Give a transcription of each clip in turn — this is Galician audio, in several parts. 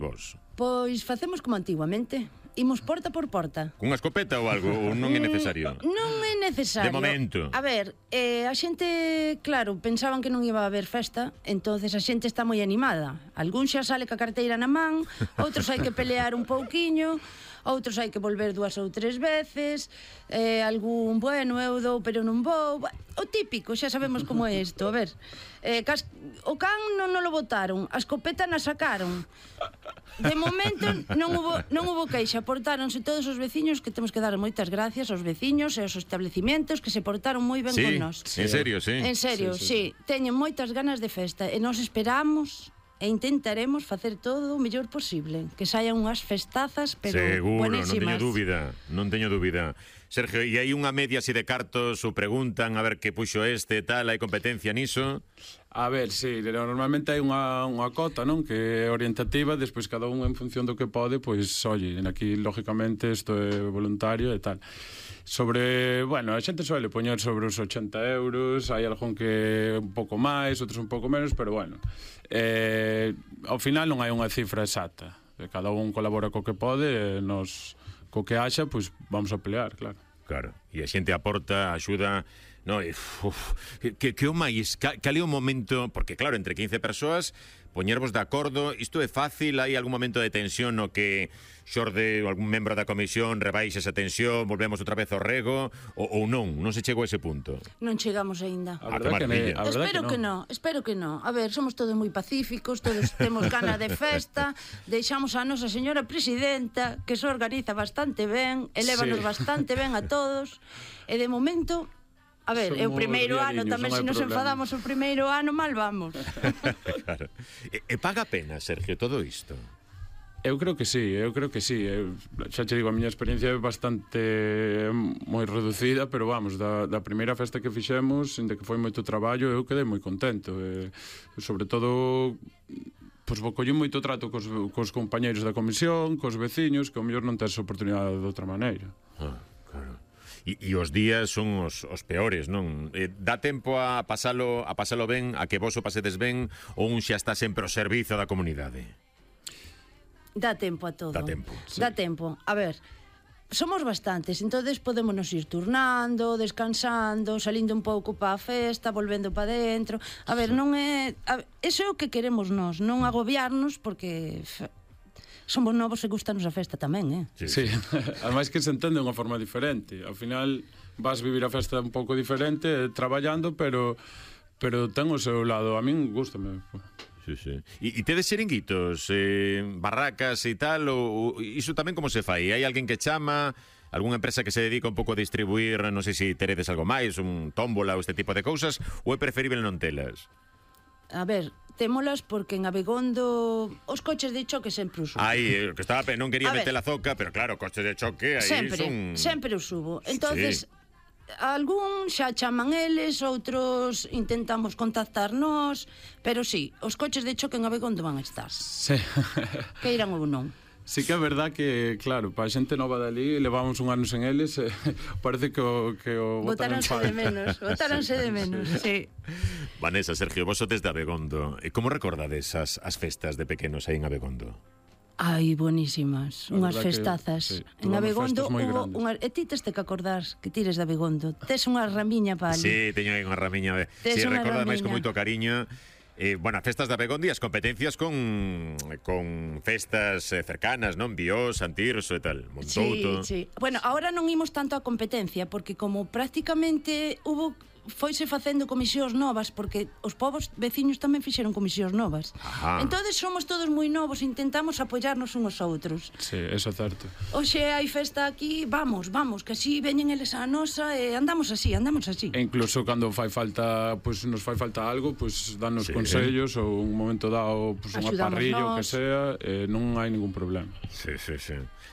vos? Pois facemos como antiguamente. Imos porta por porta. Cunha escopeta ou algo? Ou non é necesario? Non é necesario. De momento. A ver, a xente, claro, pensaban que non iba a haber festa, entonces a xente está moi animada. Algún xa sale ca carteira na man, outros hai que pelear un pouquiño, outros hai que volver 2 ou 3 veces, algún, bueno, eu dou pero non vou. O típico, xa sabemos como é isto. A ver, o can non lo botaron, a escopeta na sacaron. De momento non hubo queixa, portáronse todos os veciños, que temos que dar moitas gracias aos veciños e aos establecimentos que se portaron moi ben con nós. En serio, sí. En serio, sí. Teñen moitas ganas de festa e nos esperamos e intentaremos facer todo o mellor posible, que saian unhas festazas, pero seguro, buenísimas. Non teño dúbida. Sergio, e hai unha media así de cartos, ou preguntan a ver que puxo tal, hai competencia niso? A ver, sí, normalmente hai unha cota, non? Que é orientativa, despois cada un en función do que pode, pois, oye, aquí, lógicamente, isto é voluntario e tal. Sobre, bueno, a xente suele poñer sobre os 80 euros, hai algún que un pouco máis, outros un pouco menos, pero bueno, ao final non hai unha cifra exacta. Cada un colabora co que pode, nos, co que haxa, pois vamos a pelear, claro. Claro, e a xente aporta, axuda, no, que o máis, cal é o momento, porque claro, entre 15 persoas, poñervos de acordo, isto é fácil, hai algún momento de tensión no que xorde algún membro da comisión, rebaixa esa tensión, volvemos outra vez ao rego, ou non se chegou a ese punto? Non chegamos aínda. Espero que non. A ver, somos todos moi pacíficos, todos temos gana de festa, deixamos a nosa señora presidenta, que se organiza bastante ben, elévanos bastante ben a todos, e de momento... A ver, é o primeiro ano, tamén se nos enfadamos o primeiro ano, mal vamos. Claro. E paga pena, Sergio, todo isto? Eu creo que sí. Xa che digo, a miña experiencia é bastante moi reducida, pero vamos, da primeira festa que fixemos, inda que foi moito traballo, eu quedei moi contento. Sobre todo, pois collín moito trato cos compañeiros da comisión, cos veciños, que ao mellor non tes oportunidade de outra maneira. Claro. E os días son os peores, non? Dá tempo a pasalo ben, a que vos o pasedes ben, ou un xa está sempre ao servizo da comunidade? Dá tempo a todo. Dá tempo. Sí. Dá tempo. A ver, somos bastantes, entonces podémonos ir turnando, descansando, salindo un pouco pa a festa, volvendo pa dentro. A ver, non é... Eso é o que queremos nós, non agobiarnos, porque... Somos novos e gustanos a festa tamén, Sí. Ademais que se entende unha forma diferente. Ao final vas vivir a festa un pouco diferente, traballando, pero ten o seu lado. A min gústame. Sí. E tedes xeringuitos, barracas e tal, ou iso tamén como se fai? Hai alguén que chama, algunha empresa que se dedica un pouco a distribuir, non sei se teredes algo máis, un tómbola ou este tipo de cousas, ou é preferible non telas? A ver, témolas porque en Abegondo os coches de choque sempre os subo. Que estaba, non quería meter a zoca, pero claro, coches de choque aí sempre os subo. Entonces, algún xa chaman eles, outros intentamos contactarnos, pero sí, os coches de choque en Abegondo van a estar. Sí. Que irán ou non. Sí que é verdad que, claro, para a xente nova dali, levamos un ano sen eles, parece que o botaron en falta. Botáronse de menos, sí. Vanessa, Sergio, vos sodes de Abegondo. Como recordades as festas de pequenos aí en Abegondo? Ai, buenísimas, unhas festazas. En Abegondo hubo unhas... E ti tes que acordar que tires de Abegondo. Tes unha ramiña para ali. Sí, teño aí unha ramiña. Si, recorda máis con moito cariño. Bueno, festas de Abegondo e as competencias con festas cercanas, non? Biós, Santirso e tal, Montouto. Sí. Bueno, ahora non imos tanto a competencia, porque como prácticamente foise facendo comisións novas, porque os povos veciños tamén fixeron comisións novas. Entonces somos todos moi novos, intentamos apoiarnos uns aos outros. Sí, eso é certo. Oxe, hai festa aquí, vamos, que así veñen eles a nosa e andamos así. E incluso cando fai falta, nos fai falta algo, danos consellos ou un momento dado, unha parrilla ou que sea, non hai ningún problema. Sí.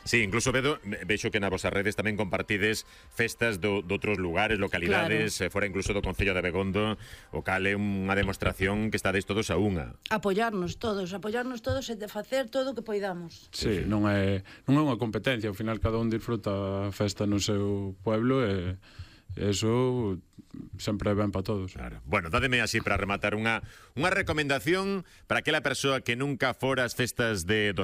Sí, incluso vexo que na vosas redes tamén compartides festas de outros lugares, localidades, fora incluso do Concello de Abegondo, o cal é unha demostración que estades todos a unha. Apoiarnos todos e de facer todo o que poidamos. Sí, non é unha competencia, ao final cada un disfruta a festa no seu pueblo e eso sempre é ben para todos. Claro. Bueno, dádeme así para rematar unha recomendación para aquela persoa que nunca fora as festas dos